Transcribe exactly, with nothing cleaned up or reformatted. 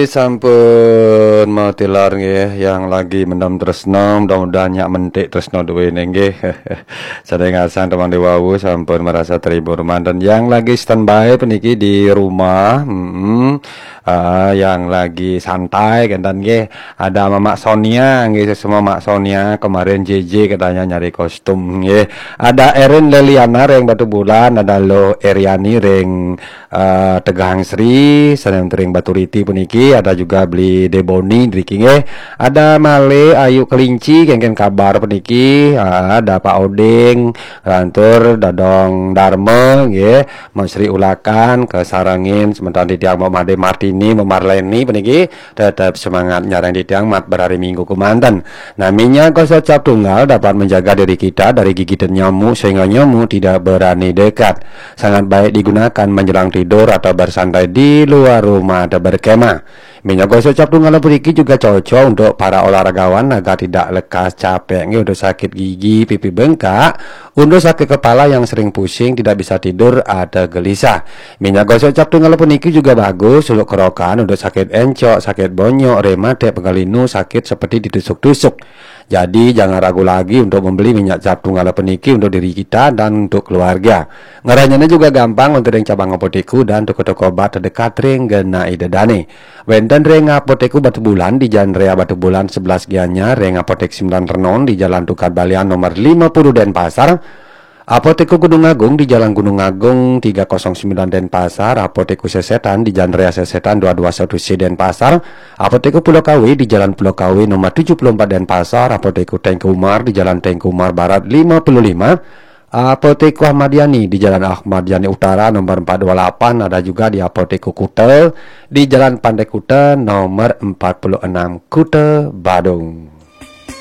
Sampun matilar nggih, yang lagi mendem tresno, mudah-mudahan nyak mentik tresno duwene nggih. Saking ngasang temang diwawu sampun merasa terhibur manten. Yang lagi standby puniki di rumah, mm, ah, yang lagi santai kenten nggih. Ada Mamak Sonia nggih, semua Mak Sonia kemarin J J katanya nyari kostum nggih. Ada Erin Leliana ring Batubulan, ada Lo Eriani ring eh, Tegang Sri, sané ring Baturiti puniki, ada juga Beli Deboni niki nggih. Ada malih Ayu Kelinci, kéngkén kabar puniki, ah, ada Pak Oding, lantur Dadong Darma nggih, Mbok Sri Ulakan, kasarengin semeton titiang Mbok Made Martini, Mbok Marleni puniki, tetep semangat nyarengin titiang mat berari Minggu kemanten. Nah, minyak gosok cap tunggal dapat menjaga diri kita dari gigitan nyamuk sehingga nyamuk tidak berani dekat. Sangat baik digunakan menjelang tidur atau bersantai di luar rumah atau berkemah. Minyak gosok cap tunggal puniki juga cocok untuk para olahragawan agar tidak lekas capek nggih, untuk sakit gigi, pipi bengkak, untuk sakit kepala yang sering pusing, tidak bisa tidur, atau gelisah. Minyak gosok cap tunggal puniki juga bagus untuk kerokan, untuk sakit encok, sakit bonyok, rematik, pegal linu, sakit seperti ditusuk-tusuk. Jadi, jangan ragu lagi untuk membeli minyak cap tunggal puniki untuk diri kita dan untuk keluarga. Ngeranjana juga gampang untuk ring cabang apoteku dan toko-toko obat terdekat ring genah ida dane. Wénten ring Apoteku Batubulan di Jalan Raya Batubulan sebelas Gianyar, ring Apotek Sembilan Renon di Jalan Tukad Balian nomor lima puluh Denpasar, Apoteku Gunung Agung di Jalan Gunung Agung tiga kosong sembilan Denpasar, Apoteku Sesetan di Jalan Raya Sesetan dua dua satu C Denpasar, Apoteku Pulau Kawe di Jalan Pulau Kawe nomor tujuh puluh empat Denpasar, Apoteku Tengku Umar di Jalan Tengku Umar Barat lima puluh lima, Apoteku Ahmad Yani di Jalan Ahmad Yani Utara nomor empat dua lapan, ada juga di Apoteku Kuta di Jalan Pantai Kuta nomor empat puluh enam, Kuta Badung.